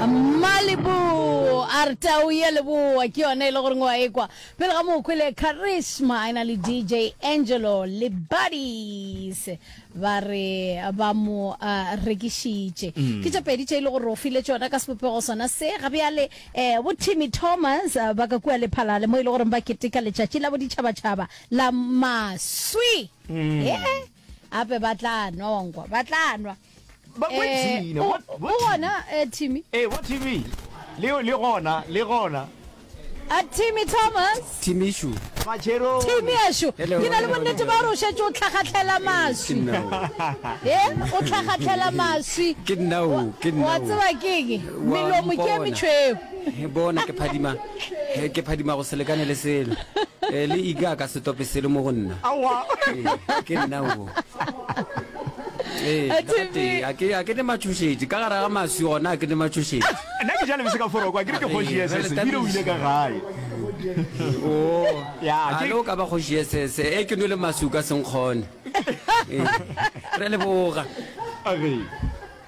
Malibu a re tau ya leboa ke yona e le goreng wa ekwa pele ga mo kwele Charisma e na le DJ Angelo le Buddies ba re ba mo uh, rekišitše mm. ke tše pedi tše e le gore o file tšona ka sebopego sona se ga bjale eh, bo Timmy Thomas eh, ba ka kua Lephalale mo e le goreng ba keteka letšatši la boditšhabatšhaba la maswi mm. eh, ape ba tla nwa wankwa ba tla nwa Ba bo Eh, Gina, o bo- bo o gona eh, Timmy Ee, bo Timmy. Le le gona, le gona. A Timmy Thomas Timišu. Matšherone. Timmy ešo Hello, ke na le hello, bonnete hello. ba gore o šetše o tlhagatlhela Ke maswi nna o. e o tlhagatlhela maswi Ke nna o, ke nna wa o. tseba keng Wa melomo ke e mpona. metšhweu He, Bona ke phadima, he, ke phadima go se lekane le selo. Eh, le ika ka se tope selo mo go nna. Aowa. Ee, ke nna o. Ee, A le Timmy. gatee, a ke a ke ne matšhošetši ka gare ga maswi gona a ke ne matšhošetši. Nna ke ja lebese ka foroko, a ke re ke kgoši Ee, SS, bjale ebile o ile ka gae. O, Ya, a ke le o ka ba kgoši SS, e ke nwele maswi o ka se nkgone. Ee, re a leboga. A ge.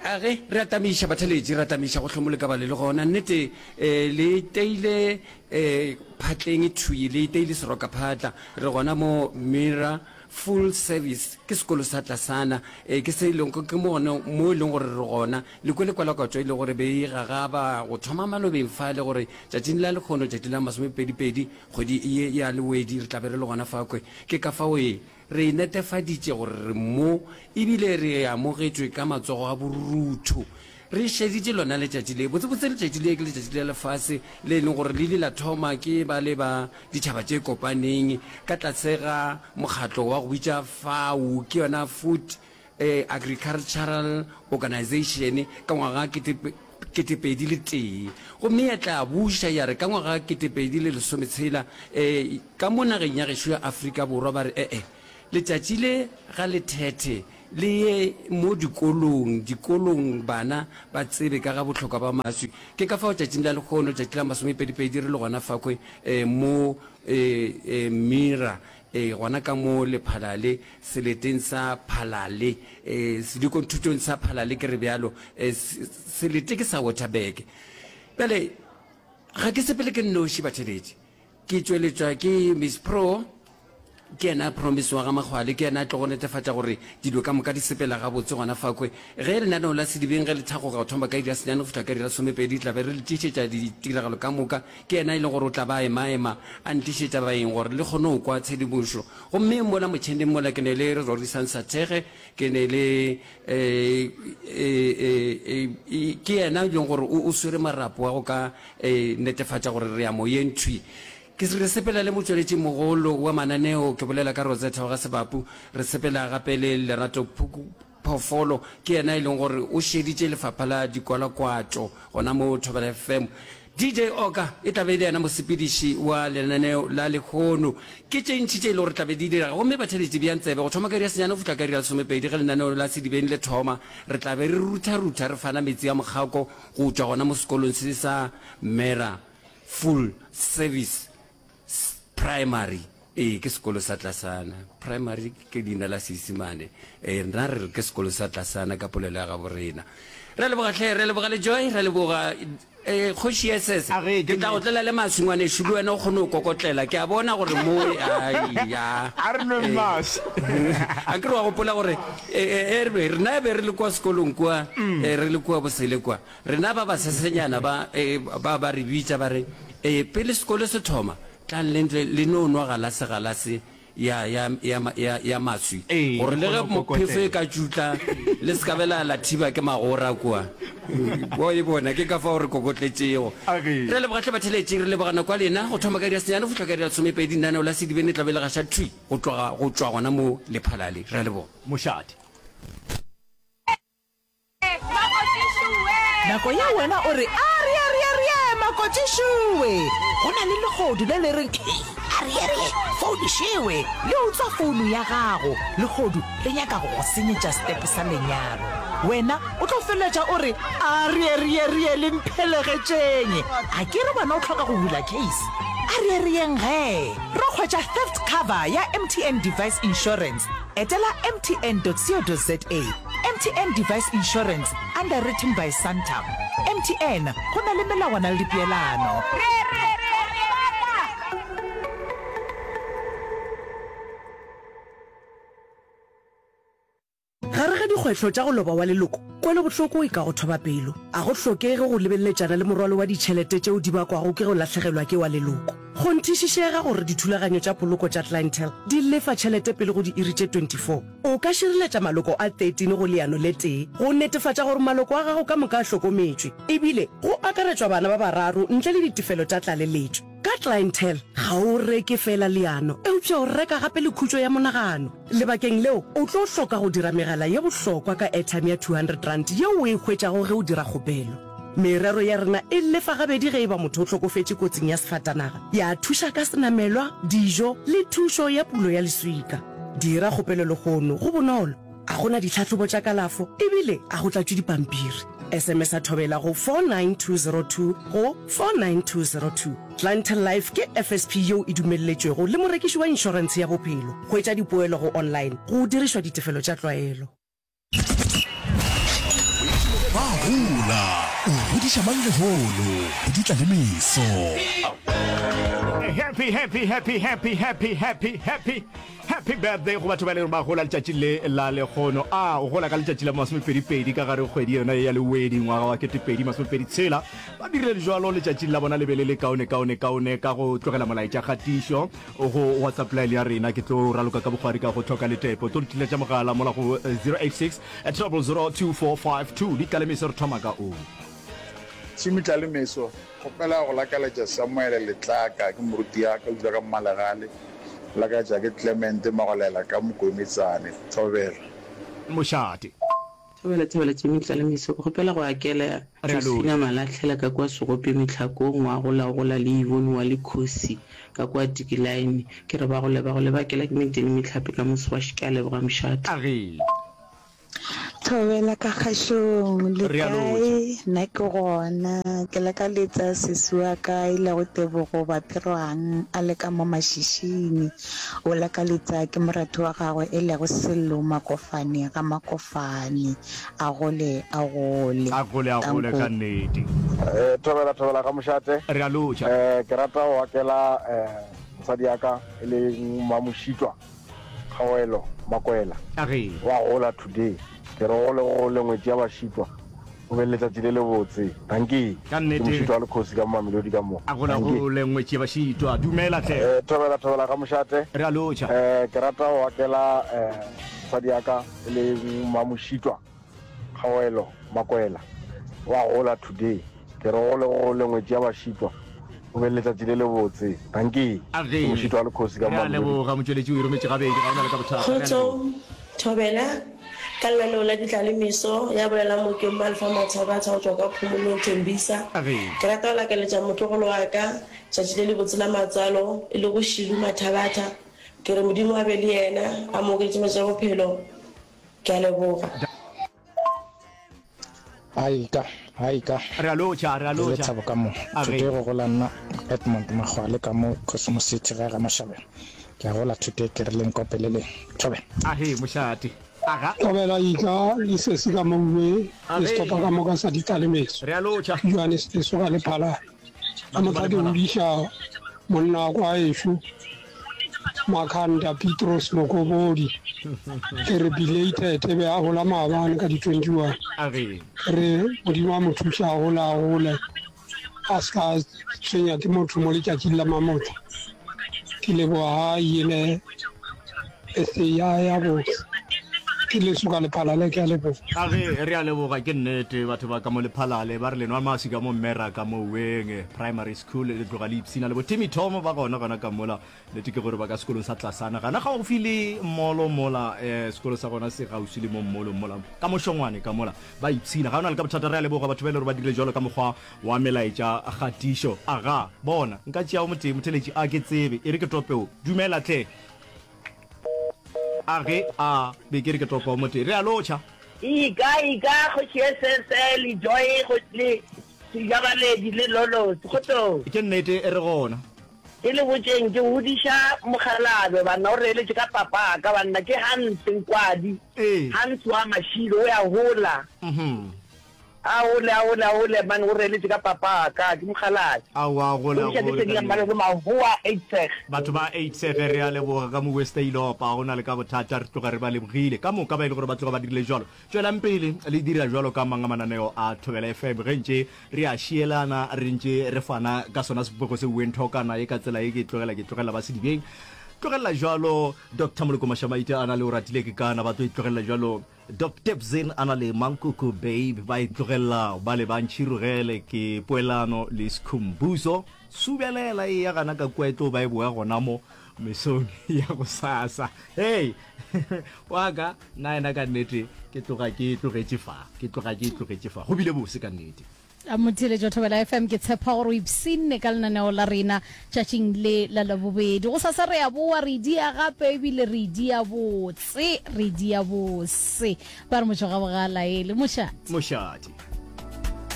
A ge, re a tamiša, batheeletši, re a tamiša go hlomole ka ba le le gona. Nnete, eh, le iteile, eh, phatleng thwi, le iteile seroka phatla. Re gona mo Mira Full Service, ke sekolo sa tlasana, eh, ke se e leng, ke mo gona mo e leng gore re gona. Le kwele kwalakwatšo e le gore be e gagaba go thoma malobeng fale gore tšatšing la lekgono, tšatši la masomepedipedi, kgwedi ye ya Lewedi, re tla be re le gona fa kwe. Ke ka fao e. Re netefaditše gore re mo ebile re amogetšwe ka matsogo a borutho. Re šeditše lona letšatši le. Botsebotse letšatši le ke letšatši la lefase le e leng gore le ile la thoma ke ba le ba Ditšhaba tše Kopaneng ka tlase ga mokgatlo wa go bitša FAO, ke yona Food Agricultural Organization, ka ngwaga 2001. Gomme ya tla buša ya re ka ngwaga 2016 ka mo nageng ya gešo ya Afrika Borwa ba re e-e, letšatši le ga le thethe le ye mo dikolong, dikolong bana ba tsebe ka ga bohlokwa ba maswi. Ke ka fao tšatšing la lehono, tšatši la masomepedipedi re le gona fakhwe mo Mira, gona ka mo Lephalale, seleteng sa Phalale, sedikonthutong sa Phalale ke re bjalo, selete ke sa Waterberg. Bjale, ga ke sepele ke nnoši, batheeletši. Ke tšweletšwa ke Miss Pro, ke yena Promise wa ga Makgwale, ke yena a tlogo netefatša gore dilo ka moka di sepela gabotse gona fakwe. Ge lenaneo la Sedibeng ge le thakgoga go thoma ka iri ya senyane go fihla ka iri ya lesomepedi, tla be re le tlišetša ditiragalo ka moka. Ke yena e leng gore o tla ba a emaema a ntlišetša baeng gore le kgone go kwa tshedimošo. Gomme mola motšheneng mola ke ne le Rorisang Sathege, ke ne le ke yena e leng gore o swere marapo a go ka netefatša gore re ya moyeng thwi. Ke re sepela le motšweletši mogolo wa mananeo, ke bolela ka Rosetta wa ga Sebapu, re sepela gape le Lerato Phoofolo, ke yena e leng gore o šeditše lefapha la dikwalakwatšo gona mo Thobela FM. DJ Oka e tla be e le yena mosepediši wa lenaneo la lehono. Ke tše ntši tše e le gore tla be di direga gomme batheeletši beang tsebe go thoma ka iri ya senyane go fihla ka iri ya lesomepedi ge lenaneo la Sedibeng le thoma. Re tla be re rutha-rutha re fana metsi a mokgako go tšwa gona mo sekolong se sa Mera Full Service Primary. Ee, ke sekolo sa tlasana. Primary ke leina la Seisemane. Ee, rena re re ke sekolo sa tlasana ka polelo ya gabo rena. Re a leboga hle, re a leboga le Joy, re a leboga eh, kgoši SS. A ge, ke Ke tla go nnete. tlela le maswi ngwanešu, le wena o kgone go kokotlela. Ke a bona gore mo, ai, ya. A re nweng Eh, maswi. a ke re wa gopola gore eh, eh, eh, re rena be re le kwa sekolong kua, eh, re le kua bosele kua. Rena ba basesenyana ba, eh, ba ba re bitša ba re, eh, pele sekolo se thoma, Tlang le ntle le no nwa galase galase ya, ya, ya, ya, ya maswi, Ee, gore le le ge kgone go phefo e kokotela. ka tšutla, le se ka be la, la thiba ke magora kua. Wa e bona, ke ka fao re kokotletšego. A ge. Re a leboga hle batheeletši, re leboga nako ya lena. Go thoma ka iri ya senyane go fihla ka iri ya lesomepedi, lenaneo la Sedibeng le tla be le gaša thwi go tloga, go tšwa gona mo Lephalale. Re a leboga. Mošate. Nako ye wena o re, Arieariearie, makotšišowe! Go na le lehodu le le reng, Ariearie, founu šewe! Le utswa founu ya gago. Lehodu le nyaka go go senyetša setepe sa lenyalo. Wena o tlo feleletša o re, Arieariearie, le mphelegetšeng! A ke re wena o hloka go bula case? Ariearieng gee! Ro hwetša theft cover ya MTN Device Insurance. Etela mtn.co.za. MTN Device Insurance, underwritten by Santam. MTN, go na le melawana le dipeelano. Gare ga dikgwetlho tša go loba wa leloko, kwelobohloko e ka go thoba pelo. A go hlokege go lebeleletšana le morwalo wa ditšhelete tšeo di bakwago ke go lahlegelwa ke wa leloko. Kgonthišišega gore dithulaganyo tša poloko tša Clientele di lefa tšhelete pele go diiri tše 24. O ka šireletša maloko a 13 go leano le tee go netefatša gore maloko a gago ka moka a hlokometšwe, ebile go akaretšwa bana ba bararo ntle le ditefelo tša tlaleletšo. Ka Clientele, ga o reke feela leano, eupša o reka gape le khutšo ya monagano. Lebakeng leo, o tlo hloka go dira megala ye bohlokwa ka airtime ya R200 yeo o e hwetšago ge o dira kgopelo. Merero ya rena e lefa gabedi ge e ba motho o hlokofetše kotsing ya sefatanaga, ya thuša ka senamelwa, dijo le thušo ya pulo ya leswika. Dira kgopelo lehono, go bonolo, ga go na ditlhahlobo tša kalafo ebile ga go tlatšwe dipampiri. SMS-a Thobela go 49202 go 49202. Clientele Life ke FSP yeo e dumelletšwego le morekiši wa inšorentshe ya bophelo. Hwetša dipoelo go online go dirišwa ditefelo tša tlwaelo. Ba gola, o godiša mang lehono, go di tla le meso. Happy happy happy happy happy happy happy happy birthday go batho ba e leng gore ba gola letšatši le la lekgono a o gola ka letšatši la masomepedipedi ka gare kgwedi yona ya lewedi ngwaga wa ketepedi masomepedi tshela ba dirile jalo letšatšing la bona le be le le kaone kaone kaone ka go tlogela molaetša kgatišo go whatsapp line ya rena ke tlo raloka ka bokgwari ka go tlhoka letepo tlo ntliletša mogala mola go 086 0002452 di tlalemeso re thoma ka o Tšhimi Tlalemeso, Kgopela go lakaletša Samuele Letlaka, ke moruti ya ka, o dula ka Mmalegale. Lakaletša ke Clement Magolela ka Mokometsane, Thobela. Mošate. Thobela, Thobela, Tšhimi Tlalemeso, ke kgopela go akela Re a Josefina lotšha. Malahlela ka kua Segope Mehlakong, wa gola o gola le Yvonne wa Lekhosi ka kua Tikilaene. Ke re ba gole ba gole ba akela ke Medeni Mehlape ka Moswaši. Ke a leboga Mošate. A ge. Thobela ka kgašong, le Re a lotšha. kae? Nna ke gona. Ke lakaletsa sesi wa ka e lego Tebogo Bapirwang a le ka mo Mashishini. O lakaletsa ke moratho wa gagwe e lego Sello Makofane ga Makofane. A gole a gole. A gole a gole Danko. ka nnete. Thobela thobela ga mošate. Re a lotšha. Ke rata go akela mosadi ya ka e leng Mmamošitwa. Kgaogelo Makwela A re. Wa gola today. Ke re gole gole ngwetši ya bašitwa. O be le letšatši le lebotse. Dankie. Ka Ke nnete. mošitwa wa lekhosi ka mo Mamelodi ka mo. A gola Dankie. gole ngwetši ya bašitwa. Dumela hle. Eh, thobela thobela ga mošate. Re a lotšha. Eh, ke rata go akela eh, mosadi ya ka e leng Mmamošitwa. Kgaogelo Makwela wa gola today. Ke re gole gole ngwetši ya bašitwa. O be le letšatši le lebotse. Dankie. A Ke ge. mošitwa wa lekhosi ka Re a Mamelodi. leboga motšweletši o e rometše gabedi ga o na le ka bothata. Re a Kgotso, leboga. Thobela, ka lenaneo la Ditlalemeso, ya bolelang mo ke Mmalfa Mathabatha go tšwa kwa Phomolong, Tembisa. A ge. Ke rata go lakaletša motlogolo wa ka tšatši le lebotse la matswalo, e lego Shilu Mathabatha. Ke re Modimo a be le yena, a mo okeletše matšatši a bophelo. Ke a leboga. Aika, aika. Re a lotšha, re a Ke le lotšha. Thabo ka mo. A ge. Today go gola nna Edmond Makgwale ka mo Cosmo City gae ga Mashabela. Ke a gola today ke re le nkopeleleng. Thobela. A ge, mošate. Aga. Thobela Ika le sesi ka mouwe A le ge. sehlopha ka moka sa Ditlalemeso. Re a lotšha. Johannes Lesoga le Phalane. Ka Batho ba mohla ke Lephalale. godiša monna wa kwa ešo Makhanda Petros Mokobodi ke re belated e be a gola maabane ka di 21 A re. ke re Modimo a mo thuše a gole a gole a se ka tshwenya ke motho mo letšatšing la mamotla ke leboga ga ile birthday ya ya botse ke leso ka lephalale ke a leboga. A ge re a leboga ke nnete batho ba ka mo lephalale ba re le nwa maswi ka mo mmera ka mo weng primary school le tloga le ipshina le bo Timmy Tom ba gona gona ka mola nnete ke gore ba ka sekolong sa tlasana gana gaufi le molo mola eh, sekolo sa gona se gausi le mo mmolong mola ka mošongwane ka mola ba ipshina ga ona le ka bothata re a leboga batho ba e le gore ba dirile jalo ka mokgwa wa melaetša kgatišo aga bona nka tšea o motee motheletši a ke tsebe e re ke topeo dumela tle A ge a be ke re ke topa o motee. Re a lotšha. Ika, ika, kgoši SSA le Joy, le Sejabaledi le Lolos. Kgotsong. Ke nnete, re gona. Ke le botšeng, ke godiša mokgalabje, banna, o reeletše ka papaka, banna, ke Hans Nkwadi, Hans wa Mashilo, o ya gola. A gole, a gole, a gole, man, o reeletše ka papaka, ke mokgalabje. Aowa, a gole, a Godiša gole, Lesedi ka la nnete. Mmalego, Mahoa, Uitsig. Batho ba Uitsig, re a leboga ka mo West Eilopa, go na le ka bothata, re tloga re ba lebogile ka moka ba e le gore ba tloga ba dirile jwalo. Tšwelang pele le dira jwalo ka mang a mananeo a Thobela FM ge ntše re a šielana, re ntše re fana ka sona sebopego se uweng thokana ye ka tsela ye ke e tlogela, ke tlogela ba sedibeng. Tlogelela jwalo Doctor Moloko Mashamaite a na le Oratile Kekana, ba tlo e tlogelela jwalo Doc Tebzin a na le Mankoko Babe, ba e tlogelela ba le ba ntšhirogele ke Poelano le Skhumbuzo. Subelela e ya gana ka kua e tlo ba e boya gona mo mesong ya gosasa. Hei! Wa ka, nna yena ka nnete ke tloga ke e tlogetše fa, ke tloga ke e tlogetše fa. Go bile bose ka nnete. Motheeletši wa Thobela FM, ke tshepa gore o ipshinne ka lenaneo la rena tšatšing le la Labobedi. Gosasa re a boa, re dia gape ebile re dia botse, re dia bose. Ba re motšho ga bogala ele mošate. Mošate.